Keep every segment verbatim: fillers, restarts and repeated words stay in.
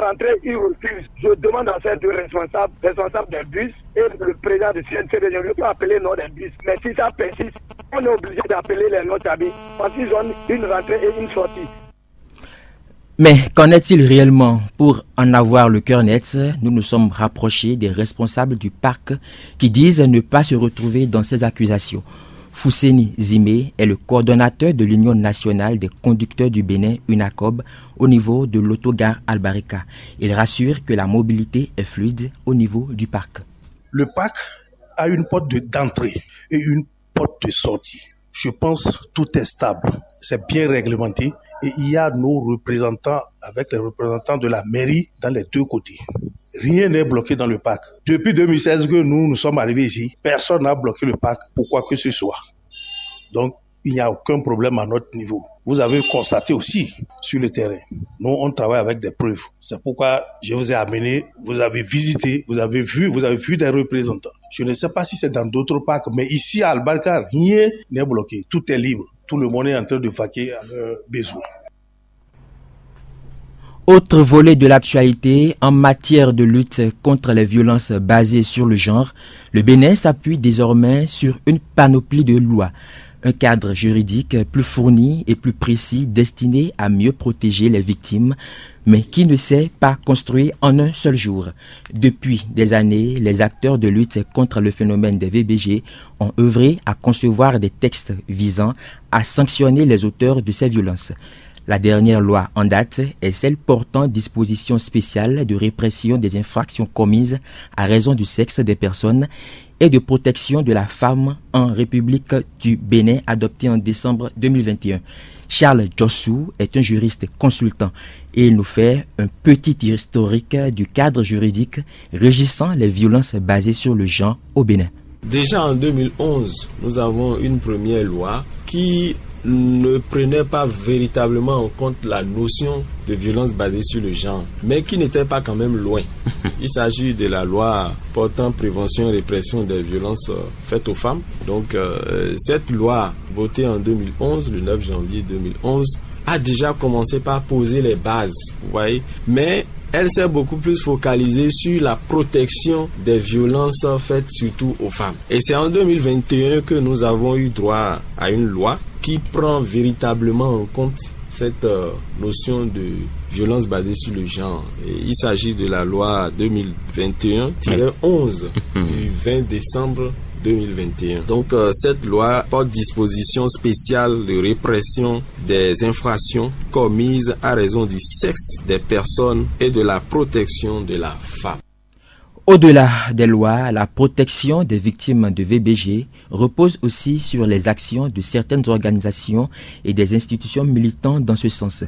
Entrée, ils refusent. Je demande à ces deux responsables, responsables des bus et le président du C N C D, je ne veux pas appeler le nom des bus. Mais si ça persiste, on est obligé d'appeler les noms d'habits. Parce qu'ils ont une rentrée et une sortie. Mais qu'en est-il réellement ? Pour en avoir le cœur net, nous nous sommes rapprochés des responsables du parc qui disent ne pas se retrouver dans ces accusations. Fousseni Zimé est le coordonnateur de l'Union nationale des conducteurs du Bénin, UNACOB, au niveau de l'autogare Albarika. Il rassure que la mobilité est fluide au niveau du parc. Le parc a une porte de, d'entrée et une porte de sortie. Je pense que tout est stable, c'est bien réglementé et il y a nos représentants avec les représentants de la mairie dans les deux côtés. Rien n'est bloqué dans le parc. Depuis deux mille seize que nous, nous sommes arrivés ici, personne n'a bloqué le parc pour quoi que ce soit. Donc, il n'y a aucun problème à notre niveau. Vous avez constaté aussi sur le terrain. Nous, on travaille avec des preuves. C'est pourquoi je vous ai amené, vous avez visité, vous avez vu, vous avez vu des représentants. Je ne sais pas si c'est dans d'autres parcs, mais ici à Albarka, rien n'est bloqué. Tout est libre. Tout le monde est en train de vaquer à leurs besoins. Autre volet de l'actualité, en matière de lutte contre les violences basées sur le genre, le Bénin s'appuie désormais sur une panoplie de lois, un cadre juridique plus fourni et plus précis destiné à mieux protéger les victimes, mais qui ne s'est pas construit en un seul jour. Depuis des années, les acteurs de lutte contre le phénomène des V B G ont œuvré à concevoir des textes visant à sanctionner les auteurs de ces violences. La dernière loi en date est celle portant disposition spéciale de répression des infractions commises à raison du sexe des personnes et de protection de la femme en République du Bénin, adoptée en décembre deux mille vingt et un. Charles Jossou est un juriste consultant et il nous fait un petit historique du cadre juridique régissant les violences basées sur le genre au Bénin. Déjà en deux mille onze, nous avons une première loi qui ne prenait pas véritablement en compte la notion de violence basée sur le genre, mais qui n'était pas quand même loin. Il s'agit de la loi portant prévention et répression des violences, euh, faites aux femmes. Donc, euh, cette loi votée en deux mille onze, le neuf janvier deux mille onze, a déjà commencé par poser les bases, vous voyez. Mais elle s'est beaucoup plus focalisée sur la protection des violences faites surtout aux femmes. Et c'est en deux mille vingt et un que nous avons eu droit à une loi qui prend véritablement en compte cette, euh, notion de violence basée sur le genre. Et il s'agit de la loi deux mille vingt et un tiret onze du vingt décembre deux mille vingt et un. Donc, euh, cette loi porte disposition spéciale de répression des infractions commises à raison du sexe des personnes et de la protection de la femme. Au-delà des lois, la protection des victimes de V B G repose aussi sur les actions de certaines organisations et des institutions militant dans ce sens.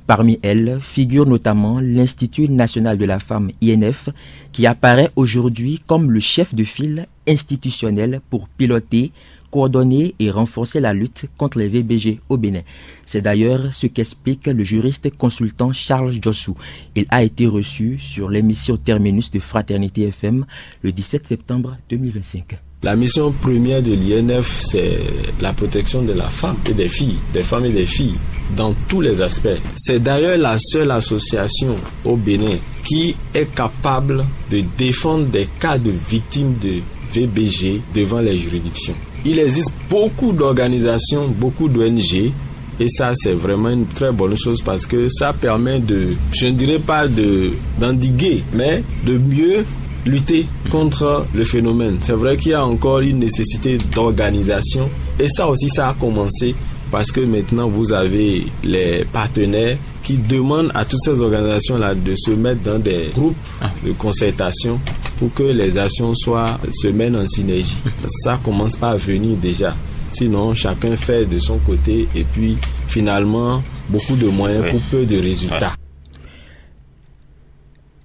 Parmi elles figure notamment l'Institut national de la femme, I N F, qui apparaît aujourd'hui comme le chef de file institutionnel pour piloter, coordonner et renforcer la lutte contre les V B G au Bénin. C'est d'ailleurs ce qu'explique le juriste consultant Charles Jossou. Il a été reçu sur l'émission Terminus de Fraternité F M le dix-sept septembre deux mille vingt-cinq. La mission première de l'I N F, c'est la protection de la femme et des filles, des femmes et des filles, dans tous les aspects. C'est d'ailleurs la seule association au Bénin qui est capable de défendre des cas de victimes de V B G devant les juridictions. Il existe beaucoup d'organisations, beaucoup d'O N G, et ça, c'est vraiment une très bonne chose parce que ça permet de, je ne dirais pas de, d'endiguer, mais de mieux lutter contre le phénomène. C'est vrai qu'il y a encore une nécessité d'organisation, et ça aussi, ça a commencé parce que maintenant, vous avez les partenaires qui demandent à toutes ces organisations-là de se mettre dans des groupes de concertation pour que les actions soient, se mènent en synergie. Ça commence par venir déjà. Sinon, chacun fait de son côté et puis, finalement, beaucoup de moyens pour peu de résultats.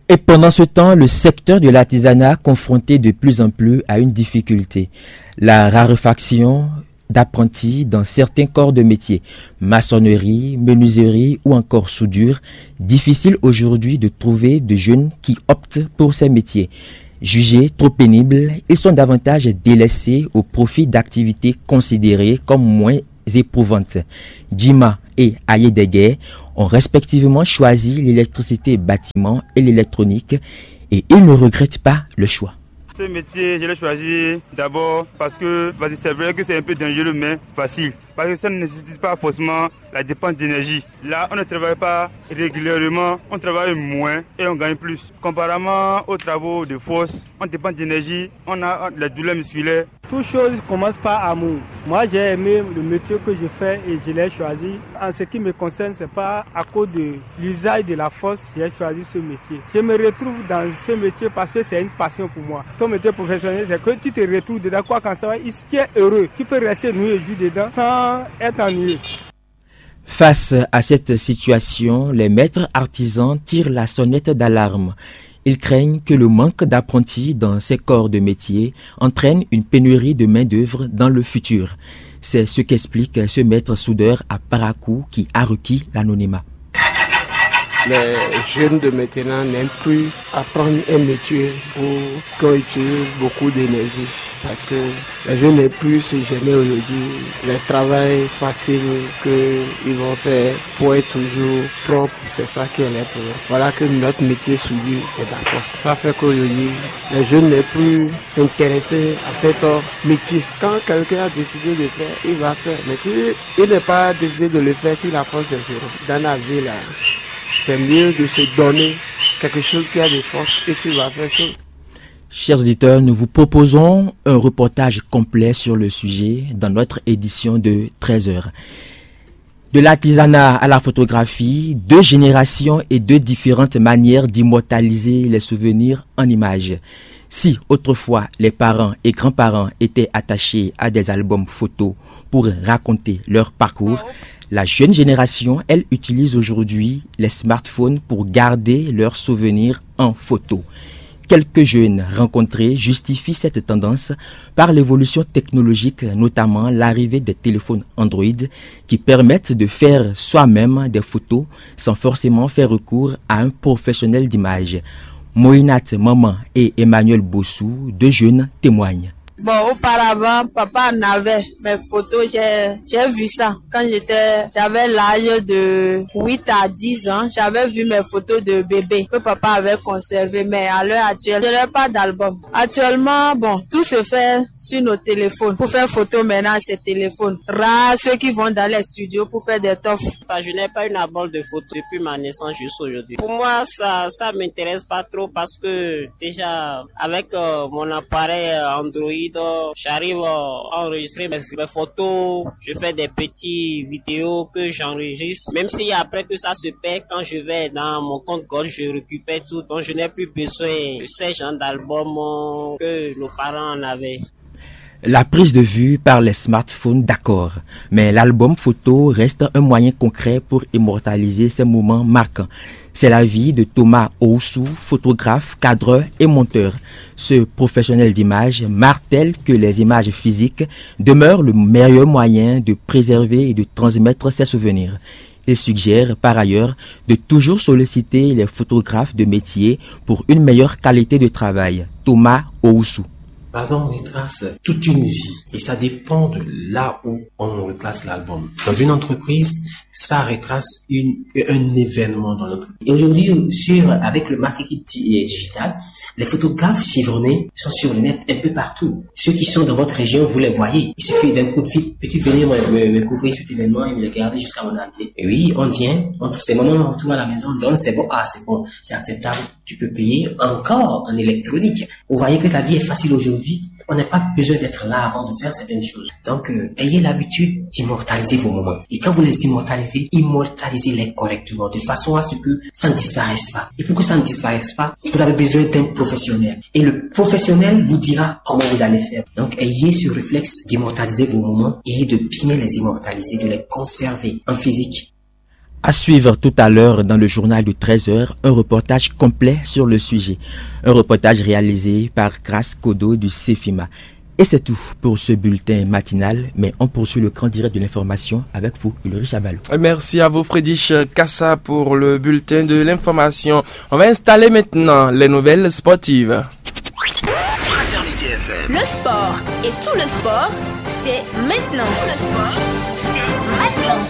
Et pendant ce temps, le secteur de l'artisanat confronté de plus en plus à une difficulté, la raréfaction d'apprentis dans certains corps de métier, maçonnerie, menuiserie ou encore soudure. Difficile aujourd'hui de trouver de jeunes qui optent pour ces métiers. Jugés trop pénibles, ils sont davantage délaissés au profit d'activités considérées comme moins éprouvantes. Jima et Ayédègué ont respectivement choisi l'électricité bâtiment et l'électronique et ils ne regrettent pas le choix. Ce métier, je l'ai choisi d'abord parce que, vas-y, c'est vrai que c'est un peu dangereux, mais facile. Parce que ça ne nécessite pas forcément la dépense d'énergie. Là, on ne travaille pas régulièrement, on travaille moins et on gagne plus. Comparément aux travaux de force, on dépend d'énergie, on a les douleurs musculaires. Toute chose commence par amour. Moi, j'ai aimé le métier que je fais et je l'ai choisi. En ce qui me concerne, c'est pas à cause de l'usage de la force que j'ai choisi ce métier. Je me retrouve dans ce métier parce que c'est une passion pour moi. Ton métier professionnel, c'est que tu te retrouves dedans, quoi qu'en soit, tu es heureux. Tu peux rester nuit et jour dedans sans être ennuyé. Face à cette situation, les maîtres artisans tirent la sonnette d'alarme. Ils craignent que le manque d'apprentis dans ces corps de métier entraîne une pénurie de main-d'œuvre dans le futur. C'est ce qu'explique ce maître soudeur à Parakou qui a requis l'anonymat. Les jeunes de maintenant n'aiment plus apprendre un métier où on utilise beaucoup d'énergie parce que les jeunes n'aiment plus se gêner aujourd'hui. Le travail facile qu'ils vont faire pour être toujours propre, c'est ça qui est leur problème. Voilà que notre métier soudure, c'est d'accord. Ça fait qu'aujourd'hui, les jeunes n'aiment plus s'intéresser à cet métier. Quand quelqu'un a décidé de faire, il va faire. Mais si il n'est pas décidé de le faire, si la force est zéro, dans la vie là, c'est mieux de se donner quelque chose qui a de force et tu vas faire chose. Chers auditeurs, nous vous proposons un reportage complet sur le sujet dans notre édition de treize heures. De l'artisanat à la photographie, deux générations et deux différentes manières d'immortaliser les souvenirs en images. Si autrefois les parents et grands-parents étaient attachés à des albums photos pour raconter leur parcours, la jeune génération, elle, utilise aujourd'hui les smartphones pour garder leurs souvenirs en photo. Quelques jeunes rencontrés justifient cette tendance par l'évolution technologique, notamment l'arrivée des téléphones Android qui permettent de faire soi-même des photos sans forcément faire recours à un professionnel d'image. Moïnat Maman et Emmanuel Bossou, deux jeunes, témoignent. Bon, auparavant, papa en avait mes photos, j'ai, j'ai vu ça. Quand j'étais, j'avais l'âge de huit à dix ans, j'avais vu mes photos de bébé que papa avait conservées, mais à l'heure actuelle, je n'ai pas d'album. Actuellement, bon, tout se fait sur nos téléphones. Pour faire photo maintenant, c'est téléphone. Rares ceux qui vont dans les studios pour faire des tofs. Enfin, je n'ai pas une album de photos depuis ma naissance jusqu'à aujourd'hui. Pour moi, ça, ça m'intéresse pas trop parce que déjà, avec euh, mon appareil euh, Android, euh, j'arrive euh, à enregistrer mes, mes photos. Je fais des petits vidéos que j'enregistre. Même si après tout ça se perd, quand je vais dans mon compte Gold, je récupère tout. Donc, je n'ai plus besoin de ces genres d'albums euh, que nos parents en avaient. La prise de vue par les smartphones, d'accord, mais l'album photo reste un moyen concret pour immortaliser ces moments marquants. C'est l'avis de Thomas Oussou, photographe, cadreur et monteur. Ce professionnel d'image martèle que les images physiques demeurent le meilleur moyen de préserver et de transmettre ses souvenirs. Il suggère par ailleurs de toujours solliciter les photographes de métier pour une meilleure qualité de travail. Thomas Oussou. Pardon, on retrace toute une vie et ça dépend de là où on replace l'album. Dans une entreprise, ça retrace une, un événement dans l'entreprise. Et aujourd'hui, sur, avec le marketing di- digital, les photographes chevronnés sont sur le net un peu partout. Ceux qui sont dans votre région, vous les voyez. Il suffit d'un coup de fil, peux-tu venir me, me- me couvrir cet événement et me le garder jusqu'à mon arrivée. Et oui, on vient, on trouve ces moments, on retourne à la maison, on donne, c'est bon, ah, c'est bon, c'est acceptable. Tu peux payer encore en électronique. Vous voyez que la vie est facile aujourd'hui. On n'a pas besoin d'être là avant de faire certaines choses. Donc, euh, ayez l'habitude d'immortaliser vos moments. Et quand vous les immortalisez, immortalisez-les correctement, de façon à ce que ça ne disparaisse pas. Et pour que ça ne disparaisse pas, vous avez besoin d'un professionnel. Et le professionnel vous dira comment vous allez faire. Donc, ayez ce réflexe d'immortaliser vos moments et de bien les immortaliser, de les conserver en physique. À suivre tout à l'heure dans le journal de treize heures, un reportage complet sur le sujet. Un reportage réalisé par Grace Kodo du Cefima. Et c'est tout pour ce bulletin matinal, mais on poursuit le grand direct de l'information avec vous, Ulrich Abalo. Merci à vous, Friedrich Kassa, pour le bulletin de l'information. On va installer maintenant les nouvelles sportives. Fraternité F M. Le sport et tout le sport, c'est maintenant. Tout le sport, c'est maintenant.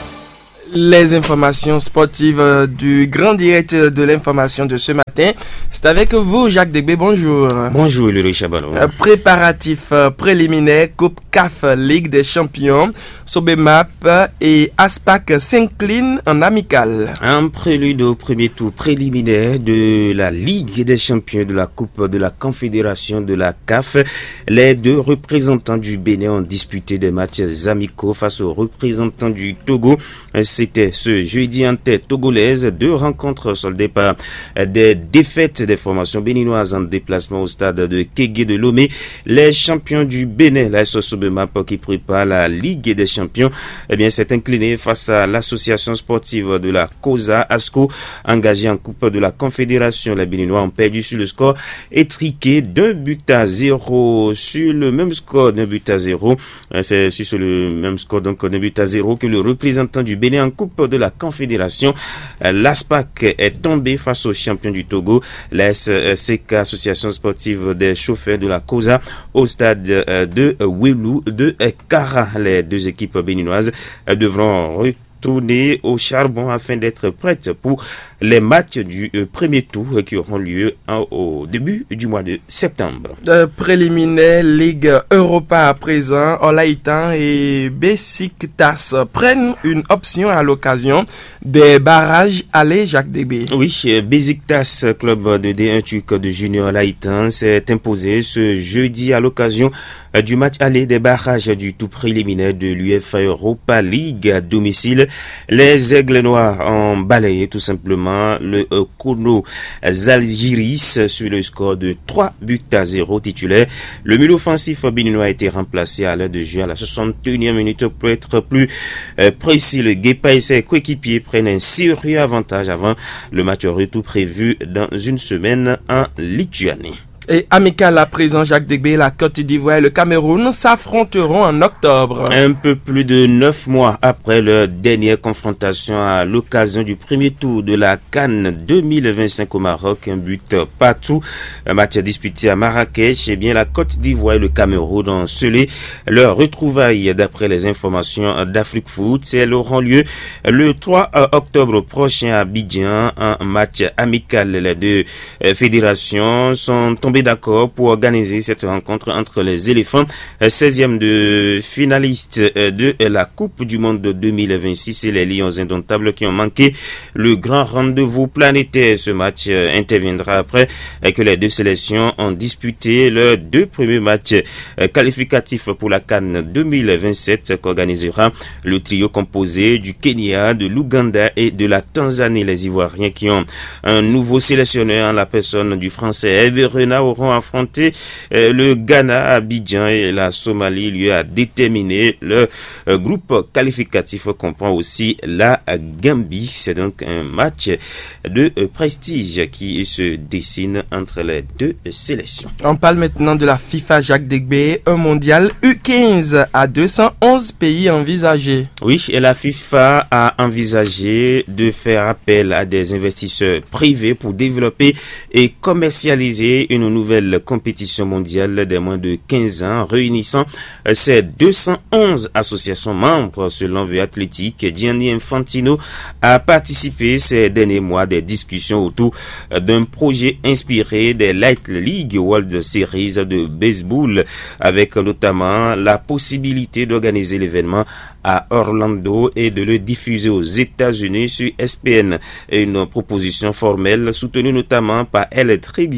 Les informations sportives, euh, du grand direct de l'information de ce matin. C'est avec vous, Jacques Degbé. Bonjour. Bonjour, Ulrich Chabalon. Euh, préparatifs, euh, préliminaires, Coupe CAF, Ligue des Champions. Sobemap et Aspac s'inclinent en amical. Un prélude au premier tour préliminaire de la Ligue des Champions, de la Coupe de la Confédération de la CAF. Les deux représentants du Bénin ont disputé des matchs amicaux face aux représentants du Togo. C'était ce jeudi en tête togolaise. Deux rencontres soldées par des défaites des formations béninoises en déplacement au stade de Kégué de Lomé. Les champions du Bénin, la S S Sobemap, qui prépare la Ligue des Champions, eh bien, s'est incliné face à l'association sportive de la COSA Asco, engagée en Coupe de la Confédération. Les Béninois ont perdu sur le score étriqué d'un but à zéro. Sur le même score d'un but à zéro, euh, c'est sur le même score, donc d'un but à zéro, que le représentant du Bénin en Coupe de la Confédération, euh, l'ASPAC, est tombé face au champion du Togo, la S C K, Association Sportive des Chauffeurs de la COSA, au stade, euh, de, euh, Welu de, euh, Kara. Les deux équipes béninoises, euh, devront retourner au charbon afin d'être prêtes pour les matchs du, euh, premier tour, euh, qui auront lieu en- au début du mois de septembre. Euh, préliminaire, Ligue Europa à présent. Olaitan et Besiktas prennent une option à l'occasion des barrages. Allez, Jacques Debé. Oui, euh, Besiktas, club de D un turc de Junior Olaitan, s'est imposé ce jeudi à l'occasion, euh, du match aller des barrages du tour préliminaire de l'UEFA Europa League à domicile. Les Aigles Noirs ont balayé tout simplement le, euh, Kono Zalgiris sur le score de trois buts à zéro. Titulaire, le milieu offensif béninois a été remplacé à l'heure de jeu, à la soixante et unième minute, pour être plus, euh, précis. Le Guépard et ses coéquipiers prennent un sérieux avantage avant le match retour prévu dans une semaine en Lituanie. Et amical à présent, Jacques Debé, la Côte d'Ivoire et le Cameroun s'affronteront en octobre. Un peu plus de neuf mois après leur dernière confrontation à l'occasion du premier tour de la CAN deux mille vingt-cinq au Maroc, un but partout, un match disputé à Marrakech, eh bien, la Côte d'Ivoire et le Cameroun ont scellé leur retrouvaille. D'après les informations d'Afrique Foot, elles auront lieu le trois octobre prochain à Abidjan, un match amical. Les deux, euh, fédérations sont tombées d'accord pour organiser cette rencontre entre les éléphants, euh, seizième de finaliste, euh, de la Coupe du Monde deux mille vingt-six, et les Lions indomptables qui ont manqué le grand rendez-vous planétaire. Ce match, euh, interviendra après, euh, que les deux sélections ont disputé leurs deux premiers matchs, euh, qualificatifs pour la CAN deux mille vingt-sept, qu'organisera le trio composé du Kenya, de l'Ouganda et de la Tanzanie. Les Ivoiriens, qui ont un nouveau sélectionneur en la personne du Français Hervé Renard, auront affronté, euh, le Ghana à Abidjan et la Somalie, lieu à déterminer. Le, euh, groupe qualificatif comprend aussi la Gambie. C'est donc un match de, euh, prestige qui se dessine entre les deux sélections. On parle maintenant de la FIFA, Jacques Degbe, un mondial U quinze à deux cent onze pays envisagés. Oui, et la FIFA a envisagé de faire appel à des investisseurs privés pour développer et commercialiser une nouvelle compétition mondiale des moins de quinze ans réunissant, euh, ces deux cent onze associations membres. Selon The Athletic, Gianni Infantino a participé ces derniers mois à des discussions autour, euh, d'un projet inspiré des Light League World Series de baseball, avec notamment la possibilité d'organiser l'événement à Orlando et de le diffuser aux États-Unis sur S P N. Une proposition formelle soutenue notamment par Electric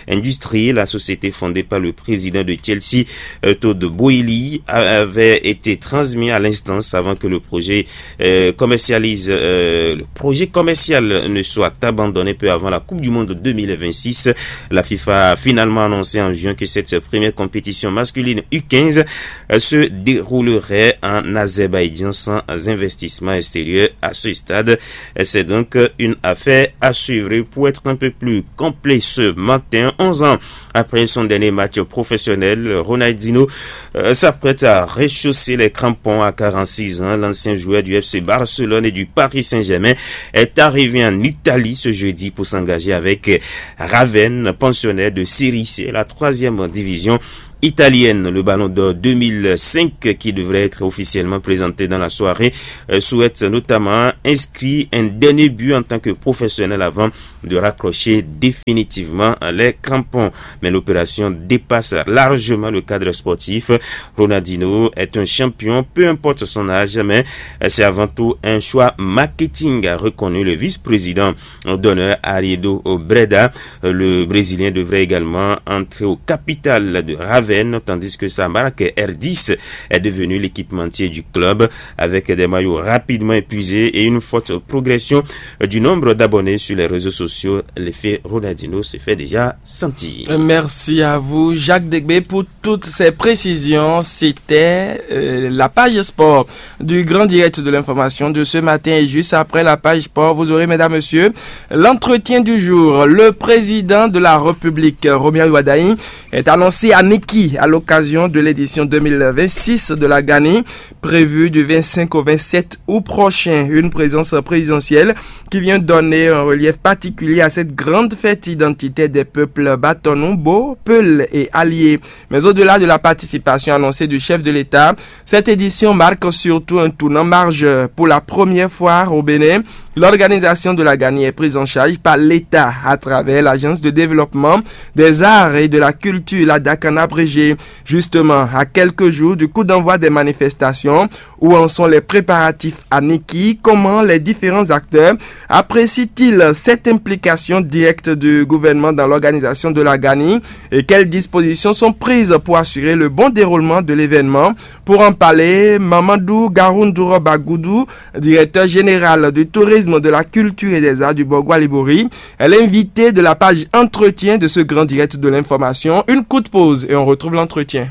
Industries, la société fondée par le président de Chelsea, euh, Todd Boehly, a- avait été transmise à l'instance avant que le projet, euh, commercialise, euh, le projet commercial ne soit abandonné peu avant la Coupe du Monde deux mille vingt-six. La FIFA a finalement annoncé en juin que cette première compétition masculine U quinze, euh, se déroulerait en Azerbaïdjan sans investissement extérieur à ce stade. Euh, c'est donc, euh, une affaire à suivre. Pour être un peu plus complet, ce matin, onze ans après son dernier match professionnel, Ronaldinho, euh, s'apprête à rechausser les crampons à quarante-six ans. L'ancien joueur du F C Barcelone et du Paris Saint-Germain est arrivé en Italie ce jeudi pour s'engager avec, euh, Ravenne, pensionnaire de Série C, la troisième division italienne, le Ballon d'Or deux mille cinq, qui devrait être officiellement présenté dans la soirée, euh, souhaite notamment inscrire un dernier but en tant que professionnel avant de raccrocher définitivement les crampons. Mais l'opération dépasse largement le cadre sportif. Ronaldinho est un champion, peu importe son âge, mais c'est avant tout un choix marketing, a reconnu le vice-président d'honneur Ariedo Breda. Le Brésilien devrait également entrer au capital de Ravenne, tandis que sa marque R dix est devenue l'équipementier du club. Avec des maillots rapidement épuisés et une forte progression du nombre d'abonnés sur les réseaux sociaux, l'effet Ronaldinho se fait déjà sentir. Merci à vous, Jacques Degbé, pour toutes ces précisions. C'était euh, la page sport du grand direct de l'information de ce matin. Et juste après la page sport, vous aurez, mesdames, messieurs, l'entretien du jour. Le président de la République, Romuald Wadagni, est annoncé à Niki à l'occasion de l'édition deux mille vingt-six de la GANI, prévue du vingt-cinq au vingt-sept août prochain. Une présence présidentielle qui vient donner un relief particulier à cette grande fête identitaire des peuples Bâtonnou, Bo, Peul et Alié. Mais au-delà de la participation annoncée du chef de l'État, cette édition marque surtout un tournant majeur. Pour la première fois au Bénin, l'organisation de la GANI est prise en charge par l'État à travers l'Agence de développement des arts et de la culture, la DAC en abrégé. Justement, à quelques jours du coup d'envoi des manifestations, où en sont les préparatifs à Niki ? Comment les différents acteurs apprécient-ils cette implication directe du gouvernement dans l'organisation de la GANI ? Et quelles dispositions sont prises pour assurer le bon déroulement de l'événement ? Pour en parler, Mamadou Garoundouro Bagoudou, directeur général du tourisme, de la culture et des arts du Borgo Libori, est l'invité de la page entretien de ce grand direct de l'information. Une courte pause et on retrouve l'entretien.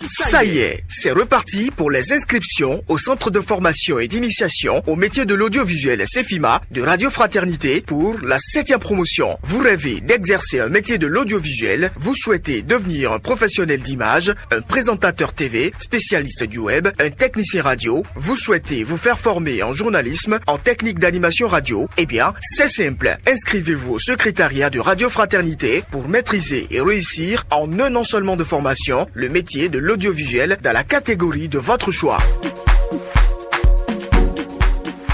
Ça y est, c'est reparti pour les inscriptions au centre de formation et d'initiation au métier de l'audiovisuel Sefima de Radio Fraternité pour la septième promotion. Vous rêvez d'exercer un métier de l'audiovisuel, vous souhaitez devenir un professionnel d'image, un présentateur T V, spécialiste du web, un technicien radio, vous souhaitez vous faire former en journalisme, en technique d'animation radio ? Eh bien, c'est simple. Inscrivez-vous au secrétariat de Radio Fraternité pour maîtriser et réussir en un an seulement de formation le métier de l'audiovisuel dans la catégorie de votre choix.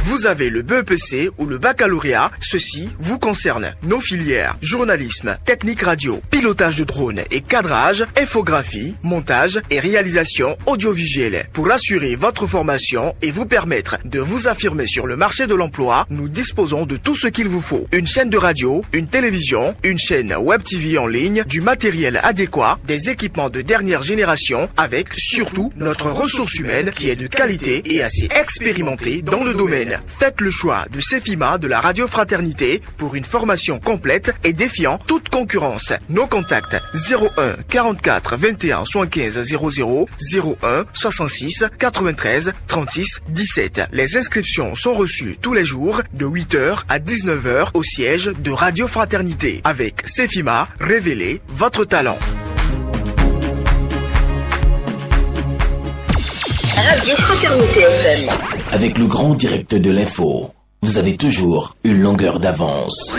Vous avez le B E P C ou le baccalauréat, ceci vous concerne. Nos filières, journalisme, technique radio, pilotage de drone et cadrage, infographie, montage et réalisation audiovisuelle. Pour assurer votre formation et vous permettre de vous affirmer sur le marché de l'emploi, nous disposons de tout ce qu'il vous faut. Une chaîne de radio, une télévision, une chaîne web T V en ligne, du matériel adéquat, des équipements de dernière génération, avec surtout notre ressource humaine qui est de qualité et assez expérimentée dans le domaine. Faites le choix de Sefima de la Radio Fraternité pour une formation complète et défiant toute concurrence. Nos contacts : zéro un quarante-quatre vingt et un soixante-quinze zéro zéro, zéro un soixante-six quatre-vingt-treize trente-six dix-sept. Les inscriptions sont reçues tous les jours de huit heures à dix-neuf heures au siège de Radio Fraternité. Avec Sefima, révélez votre talent. Radio Fraternité F M. Avec le grand direct de l'info, vous avez toujours une longueur d'avance.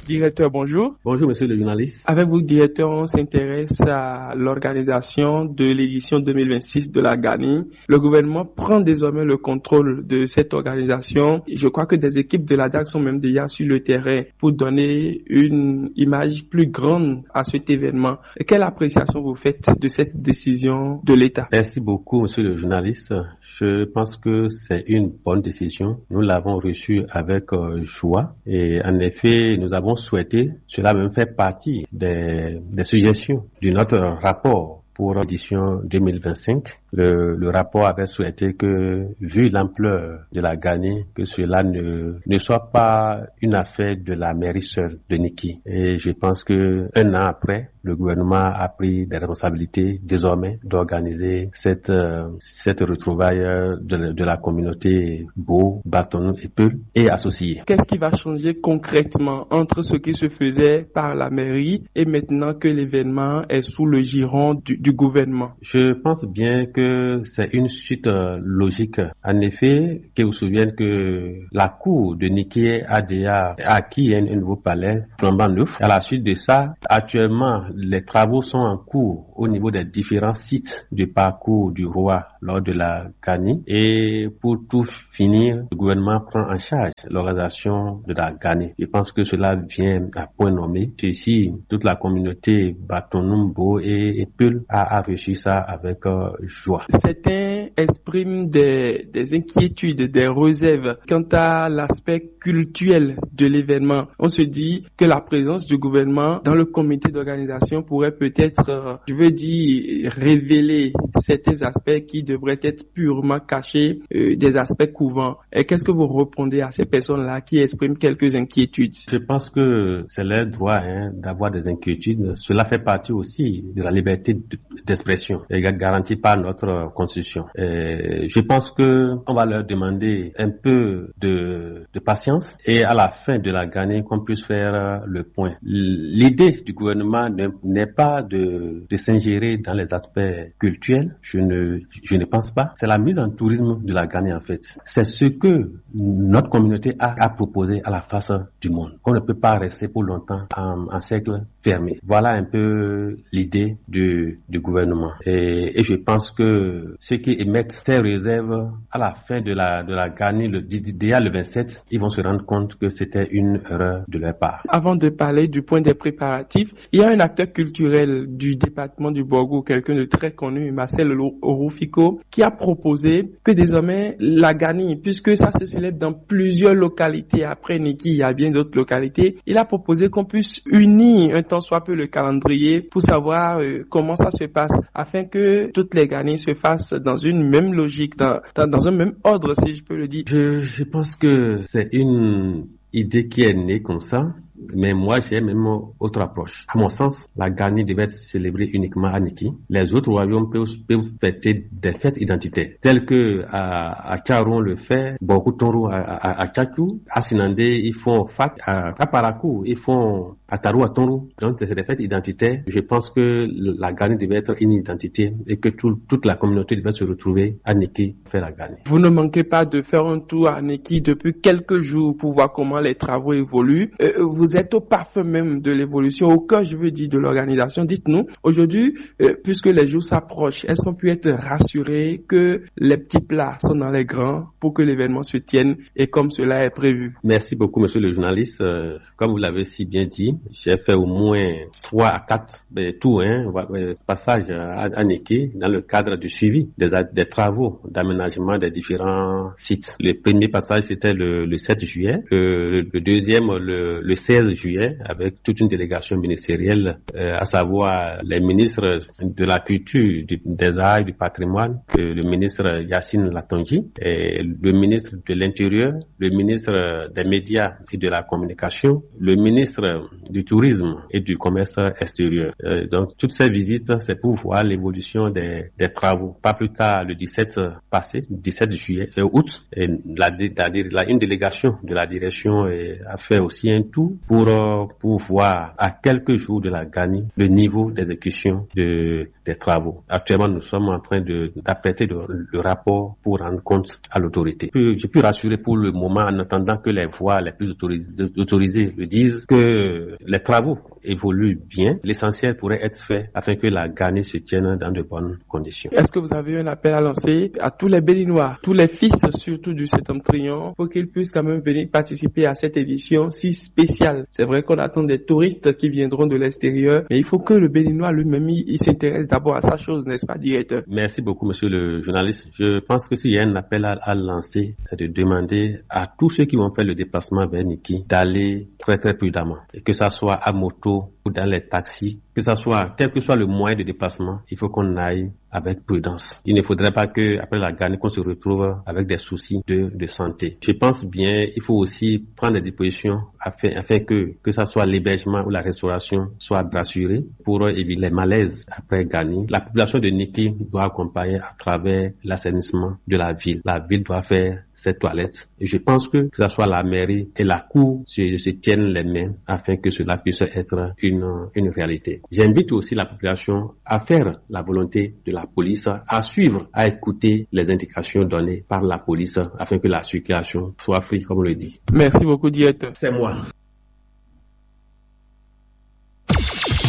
Directeur, bonjour. Bonjour, monsieur le journaliste. Avec vous, directeur, on s'intéresse à l'organisation de l'édition deux mille vingt-six de la GANI. Le gouvernement prend désormais le contrôle de cette organisation. Je crois que des équipes de la DAC sont même déjà sur le terrain pour donner une image plus grande à cet événement. Quelle appréciation vous faites de cette décision de l'État ? Merci beaucoup, monsieur le journaliste. Je pense que c'est une bonne décision. Nous l'avons reçue avec euh, joie et en effet, nous avons souhaité, cela même fait partie des, des suggestions de notre rapport pour l'édition deux mille vingt-cinq. Le, le rapport avait souhaité que, vu l'ampleur de la GANI, que cela ne, ne soit pas une affaire de la mairie seule de Niki. Et je pense que un an après, le gouvernement a pris des responsabilités désormais d'organiser cette, euh, cette retrouvaille euh, de, de la communauté Bo, Bâtonneau et Peul et associés. Qu'est-ce qui va changer concrètement entre ce qui se faisait par la mairie et maintenant que l'événement est sous le giron du, du gouvernement ? Je pense bien que que c'est une suite euh, logique. En effet, que vous souvenez que la cour de Niki a déjà acquis un, un nouveau palais flambant neuf. À la suite de ça, actuellement, les travaux sont en cours au niveau des différents sites du parcours du roi lors de la Gani. Et pour tout finir, le gouvernement prend en charge l'organisation de la Gani. Je pense que cela vient à point nommé. Ceci, toute la communauté Batonumbo et, et Peul a, a reçu ça avec euh, joie. Certains expriment des, des inquiétudes, des réserves quant à l'aspect culturel de l'événement. On se dit que la présence du gouvernement dans le comité d'organisation pourrait peut-être, euh, je veux dire, révéler certains aspects qui devraient être purement cachés, euh, des aspects couvants. Et qu'est-ce que vous répondez à ces personnes-là qui expriment quelques inquiétudes? Je pense que c'est leur droit hein, d'avoir des inquiétudes. Cela fait partie aussi de la liberté de- d'expression et ga- garantie par notre constitution. Et je pense que on va leur demander un peu de, de patience et à la fin de la Gani qu'on puisse faire le point. L'idée du gouvernement ne- n'est pas de, de s'ingérer dans les aspects culturels. Je ne, je ne pense pas. C'est la mise en tourisme de la Gani en fait. C'est ce que notre communauté a, a proposé à la face du monde. On ne peut pas rester pour longtemps en, en cercle fermé. Voilà un peu l'idée du, du gouvernement. Et, et je pense que ceux qui émettent ces réserves à la fin de la, de la Gani, le, déjà le vingt-sept, ils vont se rendre compte que c'était une erreur de leur part. Avant de parler du point des préparatifs, il y a un acteur culturel du département du Borgo, quelqu'un de très connu, Marcel Orufiko, qui a proposé que désormais la Gani, puisque ça se célèbre dans plusieurs localités, après Niki, il y a bien d'autres localités, il a proposé qu'on puisse unir un tant soit peu le calendrier pour savoir euh, comment ça se passe, afin que toutes les Gani se fassent dans une même logique, dans, dans, dans un même ordre, si je peux le dire. Je, je pense que c'est une idée qui est née comme ça, mais moi j'ai même autre approche. À mon sens, la Gani devait être célébrée uniquement à Niki. Les autres royaumes peuvent, peuvent fêter des fêtes identitaires, telles que à, à Tcharon le fait, Borkoutonro à, à, à Tchatchou, à Sinandé, ils font Fak, à, à Parakou, ils font Ataru à Tonro. Donc c'est des fêtes identitaires. Je pense que le- la Gani devait être une identité et que tout- toute la communauté devait se retrouver à Niki faire la Gani. Vous ne manquez pas de faire un tour à Niki depuis quelques jours pour voir comment les travaux évoluent. Euh, vous êtes au parfum même de l'évolution, au cœur, je veux dire, de l'organisation. Dites-nous, aujourd'hui, euh, puisque les jours s'approchent, est-ce qu'on peut être rassuré que les petits plats sont dans les grands pour que l'événement se tienne et comme cela est prévu? Merci beaucoup, monsieur le journaliste. Euh, comme vous l'avez si bien dit, j'ai fait au moins trois à quatre ben, tours, hein, va- euh, passages à, à Niki dans le cadre du suivi des, a- des travaux d'aménagement des différents sites. Le premier passage, c'était le, le sept juillet. Le, le deuxième, le, le seize juillet, avec toute une délégation ministérielle, euh, à savoir les ministres de la culture, du- des arts et du patrimoine, euh, le ministre Yacine Latonji, et le ministre de l'Intérieur, le ministre des Médias et de la Communication, le ministre du Tourisme et du Commerce extérieur. Euh, donc, toutes ces visites, c'est pour voir l'évolution des, des travaux. Pas plus tard, le dix-sept passé, dix-sept juillet, euh, août, et la, la- la- une délégation de la direction euh, a fait aussi un tour pour, euh, pour voir à quelques jours de la Gani le niveau d'exécution de, des travaux. Actuellement, nous sommes en train de- d'apprêter le, le rapport pour rendre compte à l'autorité. Puis, je peux rassurer pour le moment en attendant que les voies les plus autorisées, autorisées le disent que les travaux évoluent bien. L'essentiel pourrait être fait afin que la Gani se tienne dans de bonnes conditions. Est-ce que vous avez un appel à lancer à tous les Béninois, tous les fils surtout du septentrion, pour qu'ils puissent quand même venir participer à cette édition si spéciale? C'est vrai qu'on attend des touristes qui viendront de l'extérieur, mais il faut que le Béninois lui-même, il, il s'intéresse d'abord à sa chose, n'est-ce pas, directeur? Merci beaucoup, monsieur le journaliste. Je pense que s'il y a un appel à, à lancer, c'est de demander à tous ceux qui vont faire le déplacement vers Niki d'aller très, très prudemment. Et que ça soit à moto ou dans les taxis, que ça soit, quel que soit le moyen de déplacement, il faut qu'on aille avec prudence. Il ne faudrait pas que, après la Gani, qu'on se retrouve avec des soucis de, de santé. Je pense bien, il faut aussi prendre des dispositions afin, afin que, que ça soit l'hébergement ou la restauration soit rassuré pour éviter les malaises après Gani. La population de Niki doit accompagner à travers l'assainissement de la ville. La ville doit faire ses toilettes. Et je pense que, que ce soit la mairie et la cour se, se tiennent les mains afin que cela puisse être une, une réalité. J'invite aussi la population à faire la volonté de la police à suivre, à écouter les indications données par la police afin que la circulation soit fluide, comme on le dit. Merci beaucoup, directeur. C'est moi.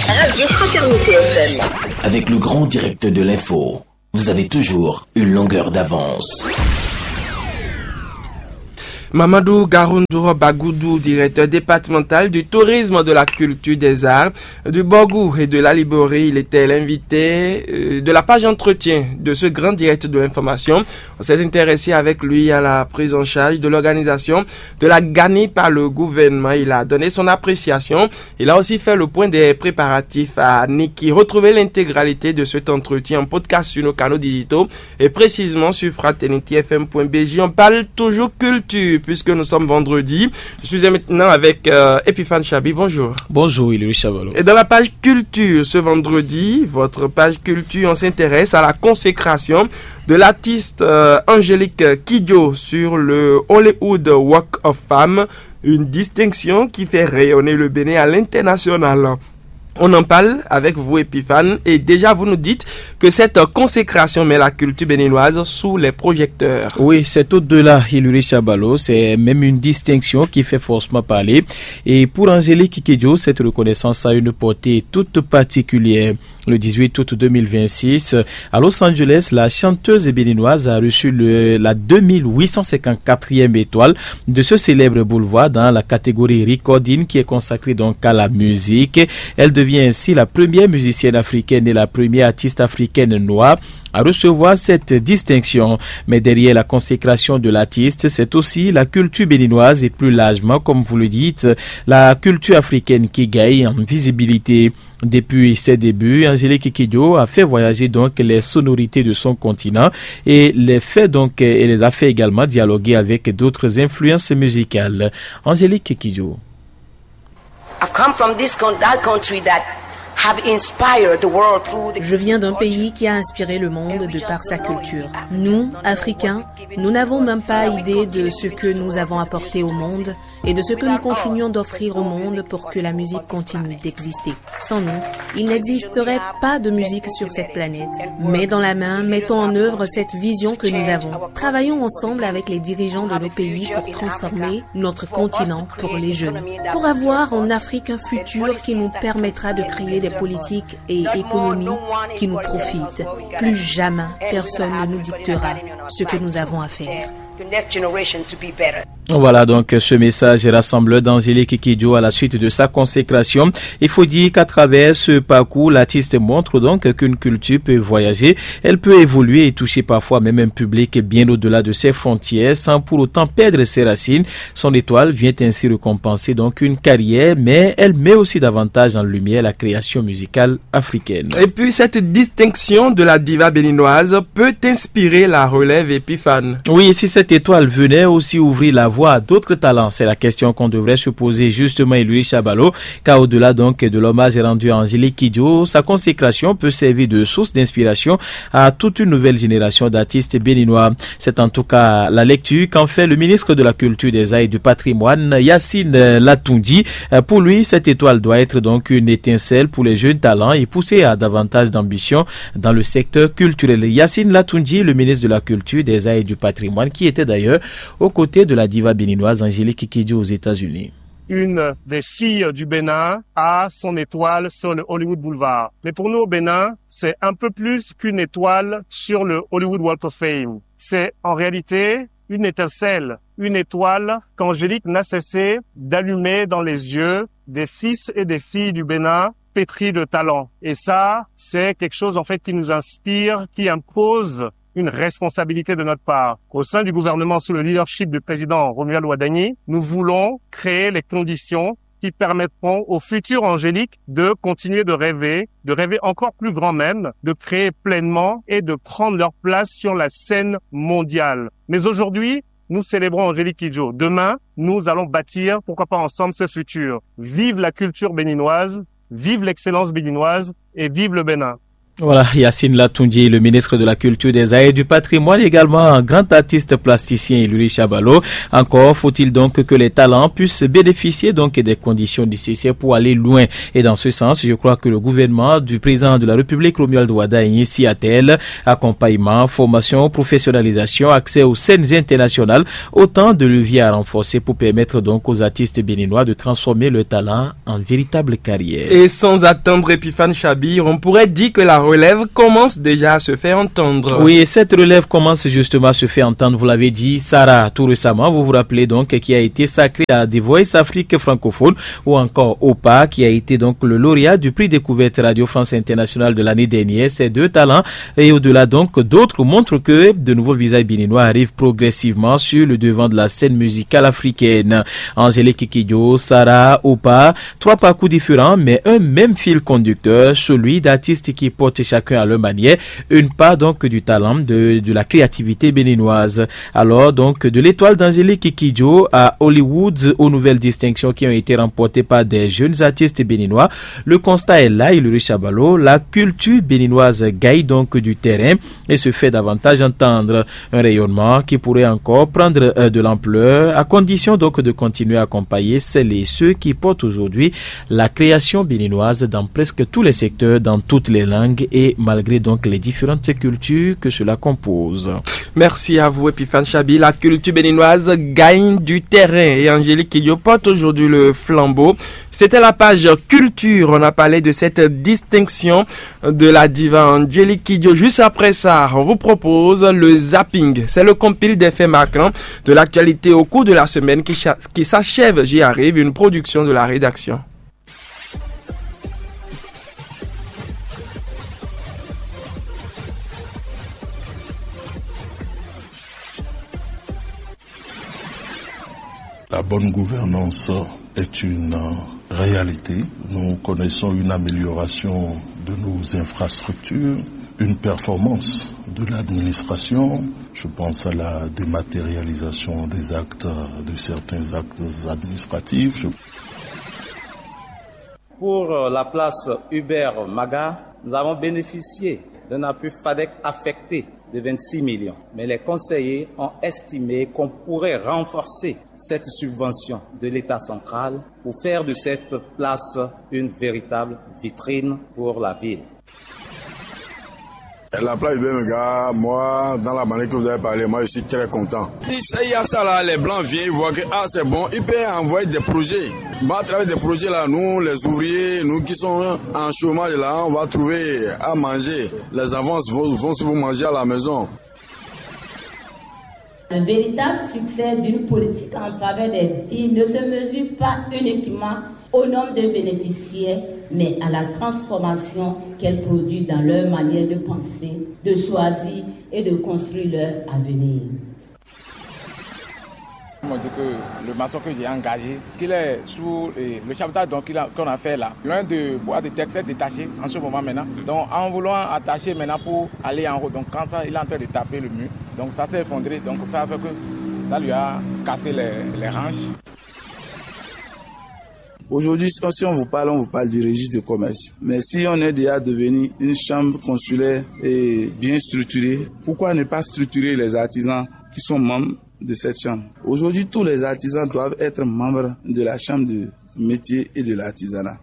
Radio Fraternité F M. Avec le grand direct de l'info, vous avez toujours une longueur d'avance. Mamadou Garoundou Bagoudou, directeur départemental du tourisme, de la culture, des arts, du Borgou et de la Librairie, il était l'invité euh, de la page entretien de ce grand direct de l'information. On s'est intéressé avec lui à la prise en charge de l'organisation de la Gani par le gouvernement. Il a donné son appréciation. Il a aussi fait le point des préparatifs à Niki. Retrouvez l'intégralité de cet entretien en podcast sur nos canaux digitaux et précisément sur fraternité F M point B J. On parle toujours culture puisque nous sommes vendredi. Je suis maintenant avec euh, Epiphane Chabi. Bonjour. Bonjour, Ilui Chavalo. Et dans la page culture ce vendredi, votre page culture, on s'intéresse à la consécration de l'artiste euh, Angélique Kidjo sur le Hollywood Walk of Fame, une distinction qui fait rayonner le Bénin à l'international. On en parle avec vous, Epiphane, et déjà vous nous dites que cette consécration met la culture béninoise sous les projecteurs. Oui, c'est au-delà, Hilary Chabalo, c'est même une distinction qui fait forcément parler. Et pour Angélique Kidjo, cette reconnaissance a une portée toute particulière. Le dix-huit août deux mille vingt-six, à Los Angeles, la chanteuse béninoise a reçu le, la deux mille huit cent cinquante-quatrième étoile de ce célèbre boulevard dans la catégorie recording qui est consacrée donc à la musique. Elle devient ainsi la première musicienne africaine et la première artiste africaine noire à recevoir cette distinction. Mais derrière la consécration de l'artiste, c'est aussi la culture béninoise et plus largement, comme vous le dites, la culture africaine qui gagne en visibilité. Depuis ses débuts, Angélique Kidjo a fait voyager donc les sonorités de son continent et les fait donc et les a fait également dialoguer avec d'autres influences musicales. Angélique Kidjo. I've come from this con- that country that have inspired the world through the Je viens d'un pays qui a inspiré le monde de par sa culture. Nous, Africains, nous n'avons même pas idée de ce que nous avons apporté au monde et de ce que nous continuons d'offrir au monde pour que la musique continue d'exister. Sans nous, il n'existerait pas de musique sur cette planète. Main dans la main, mettons en œuvre cette vision que nous avons. Travaillons ensemble avec les dirigeants de nos pays pour transformer notre continent pour les jeunes. Pour avoir en Afrique un futur qui nous permettra de créer des politiques et économies qui nous profitent. Plus jamais personne ne nous dictera ce que nous avons à faire. Voilà donc ce message rassembleur d'Angélique Kidjo à la suite de sa consécration. Il faut dire qu'à travers ce parcours, l'artiste montre donc qu'une culture peut voyager, elle peut évoluer et toucher parfois même un public bien au-delà de ses frontières sans pour autant perdre ses racines. Son étoile vient ainsi récompenser donc une carrière, mais elle met aussi davantage en lumière la création musicale africaine. Et puis cette distinction de la diva béninoise peut inspirer la relève épiphane. Oui, et si cette étoile venait aussi ouvrir la voie à d'autres talents, c'est la question qu'on devrait se poser justement, Élie Chabalo, car au-delà donc de l'hommage rendu à Angélique Kidjo, sa consécration peut servir de source d'inspiration à toute une nouvelle génération d'artistes béninois. C'est en tout cas la lecture qu'en fait le ministre de la Culture, des Arts et du Patrimoine, Yacine Lattoundi. Pour lui, cette étoile doit être donc une étincelle pour les jeunes talents et pousser à davantage d'ambition dans le secteur culturel. Yacine Lattoundi, le ministre de la Culture, des Arts et du Patrimoine, qui était d'ailleurs aux côtés de la diva béninoise Angélique Kidjo aux États-Unis. Une des filles du Bénin a son étoile sur le Hollywood Boulevard. Mais pour nous au Bénin, c'est un peu plus qu'une étoile sur le Hollywood Walk of Fame. C'est en réalité une étincelle, une étoile qu'Angélique n'a cessé d'allumer dans les yeux des fils et des filles du Bénin pétris de talent. Et ça, c'est quelque chose en fait qui nous inspire, qui impose une responsabilité de notre part. Au sein du gouvernement, sous le leadership du président Romuald Wadagni, nous voulons créer les conditions qui permettront au futur Angélique de continuer de rêver, de rêver encore plus grand même, de créer pleinement et de prendre leur place sur la scène mondiale. Mais aujourd'hui, nous célébrons Angélique Kidjo. Demain, nous allons bâtir, pourquoi pas ensemble, ce futur. Vive la culture béninoise, vive l'excellence béninoise et vive le Bénin. Voilà, Yacine Latunji, le ministre de la Culture, des Arts et du Patrimoine, également un grand artiste plasticien, Iluri Chabalo. Encore faut-il donc que les talents puissent bénéficier donc des conditions nécessaires pour aller loin. Et dans ce sens, je crois que le gouvernement du président de la République, Romuald Wadagni, s'y attelle. Accompagnement, formation, professionnalisation, accès aux scènes internationales, autant de leviers à renforcer pour permettre donc aux artistes béninois de transformer leur talent en véritable carrière. Et sans attendre Epiphane Chabir, on pourrait dire que la relève commence déjà à se faire entendre. Oui, et cette relève commence justement à se faire entendre. Vous l'avez dit, Sarah, tout récemment, vous vous rappelez donc, qui a été sacrée à The Voice Afrique francophone, ou encore Opa, qui a été donc le lauréat du prix Découverte Radio France Internationale de l'année dernière. Ces deux talents et au-delà donc, d'autres montrent que de nouveaux visages béninois arrivent progressivement sur le devant de la scène musicale africaine. Angélique Kidjo, Sarah, Opa, trois parcours différents, mais un même fil conducteur, celui d'artistes qui portent chacun à leur manière une part donc du talent, de, de la créativité béninoise. Alors donc, de l'étoile d'Angélique Kidjo à Hollywood, aux nouvelles distinctions qui ont été remportées par des jeunes artistes béninois, le constat est là, Iluri Chabalo, la culture béninoise gagne donc du terrain et se fait davantage entendre. Un rayonnement qui pourrait encore prendre euh, de l'ampleur, à condition donc de continuer à accompagner celles et ceux qui portent aujourd'hui la création béninoise dans presque tous les secteurs, dans toutes les langues et malgré donc les différentes cultures que cela compose. Merci à vous, Epiphane Chabi. La culture béninoise gagne du terrain et Angélique Kidjo porte aujourd'hui le flambeau. C'était la page culture. On a parlé de cette distinction de la diva Angélique Kidjo. Juste après ça, on vous propose le zapping. C'est le compil des faits marquants de l'actualité au cours de la semaine qui, cha- qui s'achève. J'y arrive, une production de la rédaction. La bonne gouvernance est une réalité. Nous connaissons une amélioration de nos infrastructures, une performance de l'administration. Je pense à la dématérialisation des actes, de certains actes administratifs. Je Pour euh, la place Hubert Maga, nous avons bénéficié d'un appui FADEC affecté de vingt-six millions. Mais les conseillers ont estimé qu'on pourrait renforcer cette subvention de l'État central pour faire de cette place une véritable vitrine pour la ville. La plage de Mega, moi, dans la manière que vous avez parlé, moi, je suis très content. Ici, il y a ça là, les blancs viennent, ils voient que ah, c'est bon, ils peuvent envoyer des projets. Bah, à travers des projets là, nous, les ouvriers, nous qui sommes en chômage là, on va trouver à manger. Les enfants vont, vont se manger à la maison. Le véritable succès d'une politique en faveur des filles ne se mesure pas uniquement au nombre de bénéficiaires, mais à la transformation qu'elle produit dans leur manière de penser, de choisir et de construire leur avenir. On dit que le maçon que j'ai engagé, qu'il est sous eh, le chapeau donc qu'on a fait là, loin de bois de terre très détaché en ce moment maintenant. Donc en voulant attacher maintenant pour aller en haut, donc quand ça, il est en train de taper le mur, donc ça s'est effondré, donc ça a fait que ça lui a cassé les, les hanches. Aujourd'hui, si on vous parle, on vous parle du registre de commerce. Mais si on est déjà devenu une chambre consulaire et bien structurée, pourquoi ne pas structurer les artisans qui sont membres de cette chambre? Aujourd'hui, tous les artisans doivent être membres de la chambre de métier et de l'artisanat.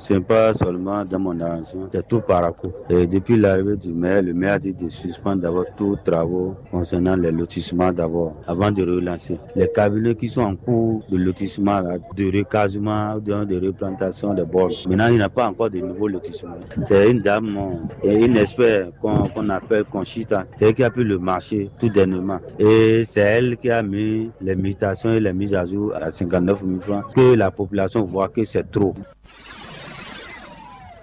Ce n'est pas seulement dans mon arrangement, c'est tout par rapport. Et depuis l'arrivée du maire, le maire a dit de suspendre d'abord tous travaux concernant les lotissements d'abord, avant de relancer. Les cabinets qui sont en cours de lotissement, là, de recasement, de, de replantation des bords. Maintenant, il n'y a pas encore de nouveaux lotissements. C'est une dame, euh, et une expert qu'on qu'on appelle Conchita, c'est elle qui a pris le marché tout dernièrement. Et c'est elle qui a mis les mutations et les mises à jour à cinquante-neuf mille francs, que la population voit que c'est trop.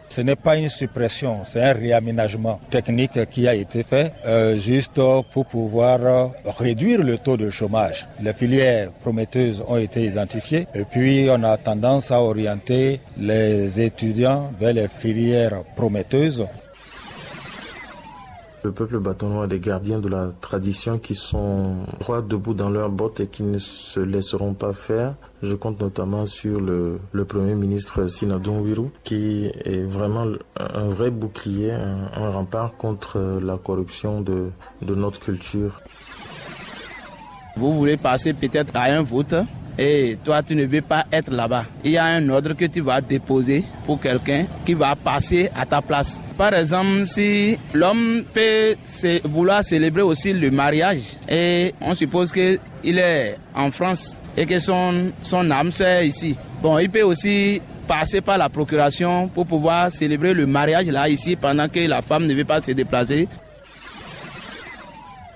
Ce n'est pas une suppression, c'est un réaménagement technique qui a été fait euh, juste pour pouvoir euh, réduire le taux de chômage. Les filières prometteuses ont été identifiées et puis on a tendance à orienter les étudiants vers les filières prometteuses. Le peuple bâtonnois, des gardiens de la tradition qui sont droits debout dans leurs bottes et qui ne se laisseront pas faire. Je compte notamment sur le, le Premier ministre Sinadon Wirou, qui est vraiment un vrai bouclier, un, un rempart contre la corruption de, de notre culture. Vous voulez passer peut-être à un vote et toi tu ne veux pas être là-bas. Il y a un ordre que tu vas déposer pour quelqu'un qui va passer à ta place. Par exemple, si l'homme peut vouloir célébrer aussi le mariage et on suppose qu'il est en France et que son, son âme sœur est ici, bon, il peut aussi passer par la procuration pour pouvoir célébrer le mariage là ici pendant que la femme ne veut pas se déplacer.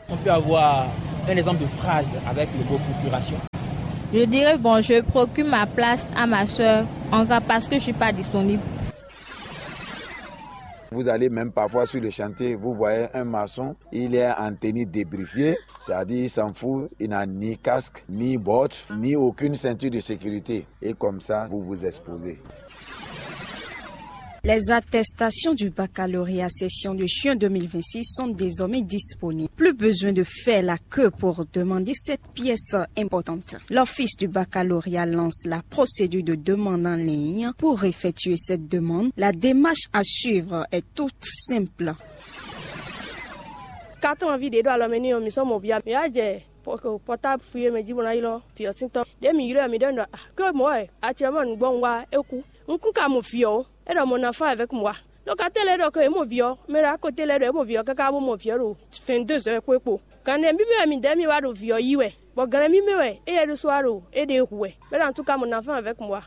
On peut avoir un exemple de phrase avec le mot procuration. Je dirais, bon, je procure ma place à ma soeur, en cas parce que je ne suis pas disponible. Vous allez même parfois sur le chantier, vous voyez un maçon, il est en tenue débriefée, c'est-à-dire il s'en fout, il n'a ni casque, ni bottes, ni aucune ceinture de sécurité. Et comme ça, vous vous exposez. Les attestations du baccalauréat session de juin deux mille vingt-six sont désormais disponibles. Plus besoin de faire la queue pour demander cette pièce importante. L'office du baccalauréat lance la procédure de demande en ligne. Pour effectuer cette demande, la démarche à suivre est toute simple. Carton envie ɖě ɖo alɔmɛ n'i ɔ́, mǐ sɔ́ mɔ vǐ ǎ. Mǐ wá jɛ pɔtáb fwi e mɛ jí bó ná ylɔ́ vǐ ɔ́ sín tɔn. Ɖěe mǐ ylɔ́ ɛ mǐ ɖɔ nú ɖɔ: "Ke mɔ̌ wɛ acɛmɔ nǔgbɔ́ un wá é kú. Un kún ka mɔ vǐ ɔ́ ó. É ɖɔ mɔ ná fán avɛ́k mɔ wá." Ɖɔ ka tɛ́ lɛ́ɛ ɖɔ ke yě mɔ vǐ ɔ́, mɛ ɖɔ ko tɛ́ lɛ́ɛ ɖɔ é mɔ vǐ ɔ́ káká bó mɔ vǐ ɔ́ ɖo vɛ̌ndézɔ́ kpo é kpo. Gǎn nɛ̌ mímɛ́ wɛ midɛɛ mì wá ɖo vǐ ɔ́ yí wɛ, bɔ gǎn mímɛ́ wɛ éyɛ́ ɖésú wá ɖo éɖée hu wɛ, bɔ é ɖo antúka mɔ ná fán avɛ́k mɔ wá.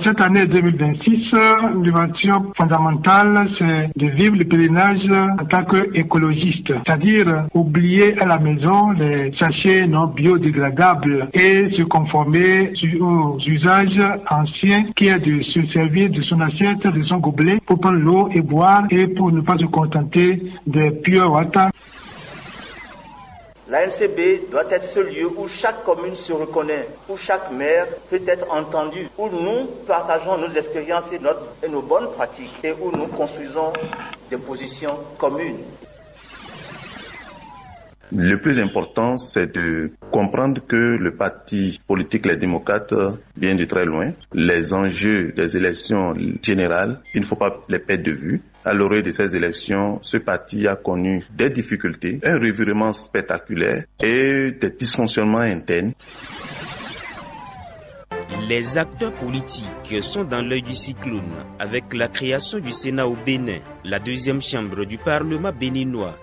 Cette année deux mille vingt-six, l'innovation fondamentale, c'est de vivre le pèlerinage en tant qu'écologiste, c'est-à-dire oublier à la maison les sachets non biodégradables et se conformer aux usages anciens, qui est de se servir de son assiette, de son gobelet pour prendre l'eau et boire et pour ne pas se contenter des pure water. L'A N C B doit être ce lieu où chaque commune se reconnaît, où chaque maire peut être entendu, où nous partageons nos expériences et, notre, et nos bonnes pratiques et où nous construisons des positions communes. Le plus important, c'est de comprendre que le parti politique Les Démocrates vient de très loin. Les enjeux des élections générales, il ne faut pas les perdre de vue. À l'orée de ces élections, ce parti a connu des difficultés, un revirement spectaculaire et des dysfonctionnements internes. Les acteurs politiques sont dans l'œil du cyclone avec la création du Sénat au Bénin, la deuxième chambre du Parlement béninois.